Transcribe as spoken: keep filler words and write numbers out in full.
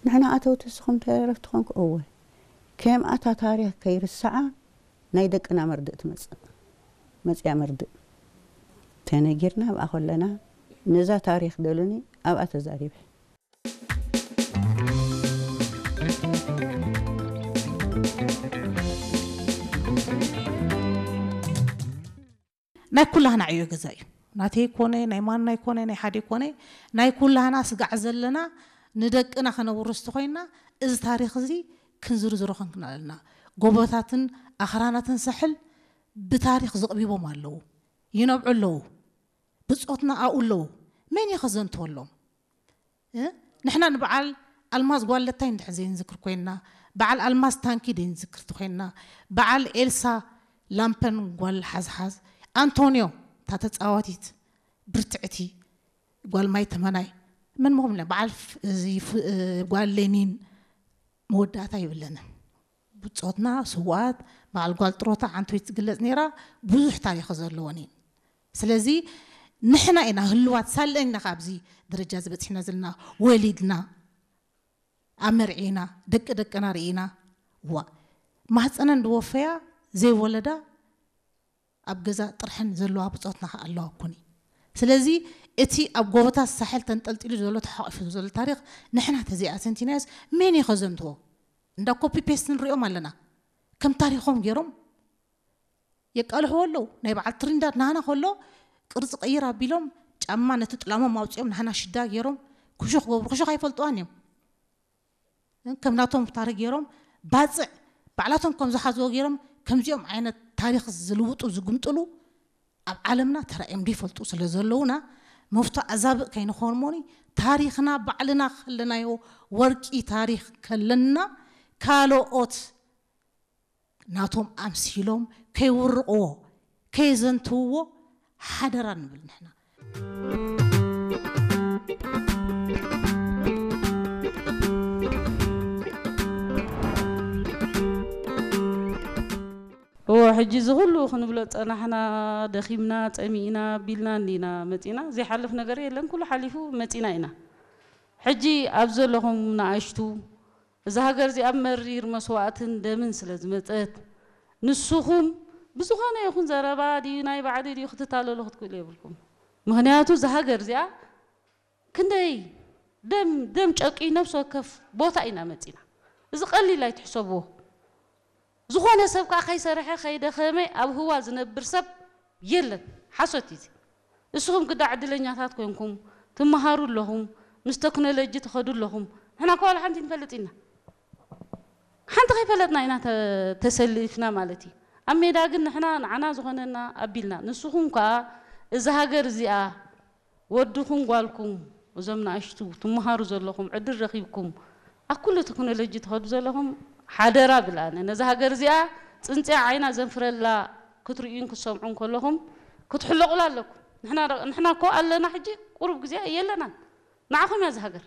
ንሕና ኣተውቲ እስኹም ተረፍ ትኾንኩ እወ። ከም ኣታ ታሪኽ ከይርሰዓ ናይ ደቅና መርድእ ትመጽእ። መጽያ መርድእ። ተነጊርና ኣብኣ ኮለና፣ ነዛ ታሪኽ ደሉኒ ኣብኣ ተዛሪበ። ናይ ኩላህና ዕዮ ገዛ እዩ። ናተይ ኮነ፣ ናይ ማናይ ኮነ፣ ናይ ሓደ ኮነ፣ ናይ ኩላህና ስጋዕ ዘለና ንደቅና ከነውርስ ተኾይና፣ እዚ ታሪኽ እዚ ክንዝርዝሮ ከንክን ኣለና። ጎቦታትን ኣኽራናትን ሳሕል ብታሪኽ ዘቕቢቦም ኣለዉ፣ ይነብዑ ኣለዉ። ብጾትና ኣብኡ ኣለዉ። መን እዩ ከዘንትወሎም? እ? ንሕና ንበዓል ኣልማዝ ጓል ለታይ እንድሕር ዘይንዝክር ኮይንና፣ በዓል ኣልማዝ ታንኪ ዘይንዝክር ተኮይንና፣ በዓል ኤልሳ ላምፐን ጓል ሓዝሓዝ፣ ኣንቶንዮ እታ ተጻዋቲት ብርትዕቲ ጓል ማይ ተመናይ፣ መን ምኹም ኢልና፣ በዓል ፍ-፣ እዚ ፍ-፣ እ፣ ጓል ሌኒን መወዳእታ ይብለንን። ብጾትና ስውኣት፣ በዓል ጓል ጥሮታ ዓንቶይ ትግለጽ ነይራ፣ ብዙሕ ታሪኽ ዘለወን እየን። ስለዚ ንሕና ኢና ህልዋት ሳለን ኢና ካብዚ ደረጃ እዚ በጺሕና ዘለና። ወሊድና፣ ኣመርዒና፣ ደቂ ደቅና ርኢና። ዋ፣ ማህጸነን ዝወፈያ ዘይወለዳ ኣብ ገዛ ጥርሐን ዘለዋ ብጾትና ከኣ ኣለዋ እኮኒ። ስለዚ እቲ ኣብ ጎቦታት ሳሕል ተንጠልጢሉ ዘሎ ተሓቂፉ ዘሎ ታሪኽ ንሕና ተዘይኣዘንቲናዮስ መን እዩ ከዘንትዎ? እንዳ ኮፒ ፔስት ንሪኦም ኣለና። ከም ታሪኾም ገይሮም የቃልሕዎ ኣለዉ። ናይ በዓል ትሪንዳድ ናህና ከሎ ቅርጺ ቀይር ኣቢሎም ጫማ ነቲ ጥላሞም ኣውጺኦም ናህና ሽዳ ገይሮም ክሹ ክገብሩ፣ ክሹ ኣይፈልጥዋን እዮም። ከም ናቶም ታሪኽ ገይሮም ባጽዕ ባዕላቶም ከም ዝሓዝዎ ገይሮም ከምዚኦም ዓይነት ታሪኽ ዝልውጡ ዝግምጥሉ ኣብ ዓለምና ተራእዮም ዘይፈልጡ ስለ ዘለዉና መፍቶ ኣዛብእ ከይንኾን እሞኒ ታሪኽና ባዕልና ከለናዮ ወርቂ ታሪኽ ከለና ካልኦት ናቶም ኣምሲሎም ከይውርቕዎ፣ ከየዘንትውዎ ሓደራ ንብል ንሕና። እወ፣ ሕጂ እዚ ኩሉ ክንብሎ ጸናሕና፣ ደኺምና፣ ጸሚእና፣ ቢልና እንዲና መጺእና። ዘይሓልፍ ነገር የለን፣ ኩሉ ሓሊፉ መጺእና ኢና። ሕጂ ኣብ ዘለኹም ንኣሽቱ፣ እዛ ሃገር እዚኣ መሪር መስዋእትን ደምን ስለ ዝመጸት፣ ንስኹም ብዝኾነ ይኹን ዘረባ ድዩ ናይ ባዕዲ ድዩ ክትታለሉ ክትክእሉ የብልኩም። ምኽንያቱ እዛ ሃገር እዚኣ ክንደይ ደም፣ ደም ጨቂ ነፍሲ ወከፍ ቦታ ኢና መጺና። እዚ ቀሊል ኣይትሕሰብዎ። ዝኾነ ሰብ ከኣ ከይሰርሐ ከይደኸመ ኣብ ህዋ ዝነብር ሰብ የለን። ሓሶት እዩ እዚ። እስኹም ግዳ ዕድለኛታት ኮንኩም ትመሃሩ ኣለኹም፣ ምስ ተክኖሎጂ ትኸዱ ኣለኹም። ንሕና እኳ ዋላ ሓንቲ ንፈልጥ ኢና። ሓንቲ ከይፈለጥና ኢና ተ-፣ ተሰሊፍና ማለት እዩ። ኣብ ሜዳ ግን ንሕና ንዓና ዝኾነና ኣቢልና። ንስኹም ከኣ እዛ ሃገር እዚኣ ወድኹም ጓልኩም፣ እዞም ንኣሽቱ ትመሃሩ ዘለኹም፣ ዕድል ረኺብኩም፣ ኣብ ኩሉ ቴክኖሎጂ ትኸዱ ዘለኹም፣ ሓደራ ብል ኣነ። ነዛ ሃገር እዚኣ ጽንጽያ ዓይና ዘንፍረላ ክትርእዩን ክትሰምዑን ከለኹም፣ ክትሕለቑላ ኣለኩም። ንሕና ረ-፣ ንሕና እኮ ኣለና፣ ሕጂ ቁሩብ ግዜ የለናን። ንዓኹም እያ እዛ ሃገር።